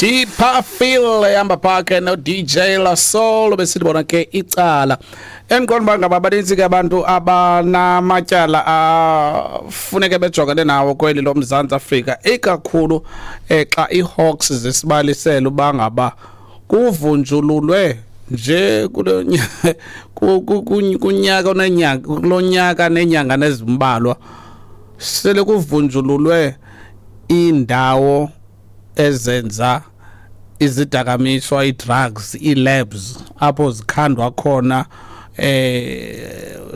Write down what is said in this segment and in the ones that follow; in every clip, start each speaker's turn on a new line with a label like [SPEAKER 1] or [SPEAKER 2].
[SPEAKER 1] Deeper Feel ehamba phake no DJ La Soul, besithi bona ke icala. Endiqonda uba ngaba banintsi ke abantu abanamatyala afuneke bejongene nawo kweli loMzantsi Afrika, ikakhulu xa iiHawks zisibalisela uba ngaba kuvunjululwe nje kulo kunyaka onenyanga, kulo nyaka nenyanga nezimbalwa, sele kuvunjululwe iindawo ezenza izidakamiswa, ii-drugs, ii-labs apho zikhandwa khona.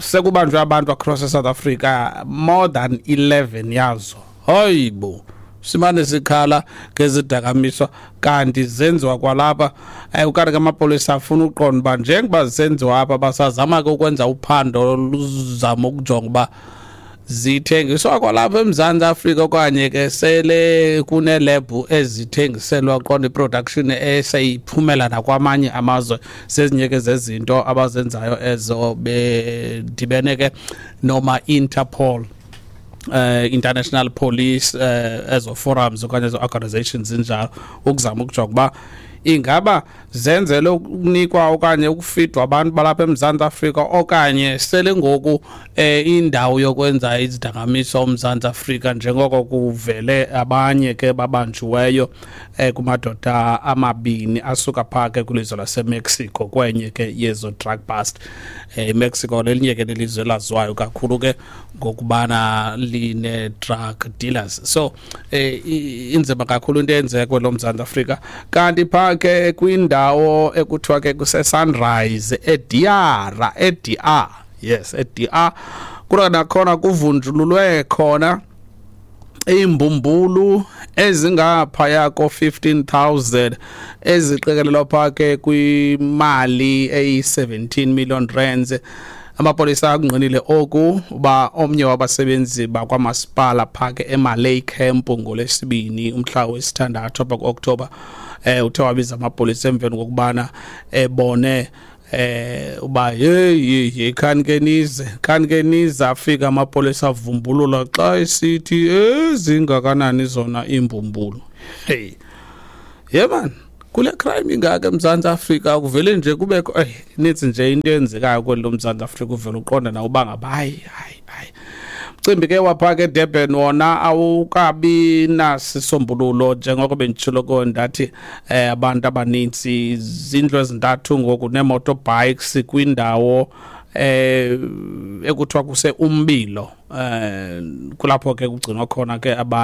[SPEAKER 1] Sekubanjwe abantu across eSouth Africa more than 11 yazo. Hayibo, simane sikhala ngezidakamiswa kanti zenziwa kwalapha. Ukanti ke amapolisa afuna uqonda uba njengoba zisenziwa apha, basazama ke ukwenza uphando luzama ukujonga uba zithengiswa kwalapha eMzantsi Afrika okanye ke sele kunelebhu ezithengiselwa, qonda i-production eseyiphumela nakwamanye amazwe. Zezinye ke zezinto abazenzayo ezo bedibene ke noma Interpol, International Police, ezo forums okanye ezo organizations zinjalo, ukuzama ukujonga uba ingaba zenzele ukunikwa okanye ukufidwa abantu balapha eMzantsi Afrika okanye sele ngoku indawo yokwenza izidakamiswa uMzantsi Afrika, njengoko kuvele abanye ke babanjiweyo kumadoda amabini asuka phaa ke kwilizwe laseMexico kwenye ke yezo drug bust. IMexico lelinye ke lelizwe elaziwayo kakhulu ke ngokubana line-drug dealers, so inzima kakhulu into eyenzeka kwelo Mzantsi Afrika. Kanti phaa ke kwindawo ekuthiwa ke kuse-Sunrise eDiara, eDR, yes, eDR, kuthiwa nakhona kuvunjululwe khona iimbumbulu ezingaphaya ko-15,000 eziqikelelwa phaa ke kwimali eyi-17 million rands. Amapolisa akungqinile oku uba omnye wabasebenzi bakwamasipala phaa ke eMalay Camp ngoLwesibini umhla wesithandathu apha ku-Oktoba uthe wabiza amapolisa emveni kokubana ebone uba hey hey, khani ke nize, khani ke nize. Afika amapolisa, avumbulula xa esithi ezingakanani zona iimbumbulu. Hey ye man, kule crime ingaka eMzantsi Afrika kuvele nje kubekho inintsi nje into eyenzekayo kweli loMzantsi Afrika, uvele uqonda nawe uba ngaba hayi hayi hayi. Mcimbi ke wapha ke Durban wona awukabi nasisombululo, njengoko benditshilo ko ndathi abantu abanintsi, zindlu ezintathu ngoku nee-motorbikes kwindawo ekuthiwa kuse Umbilo, kulapho ke kugcinwa khona ke.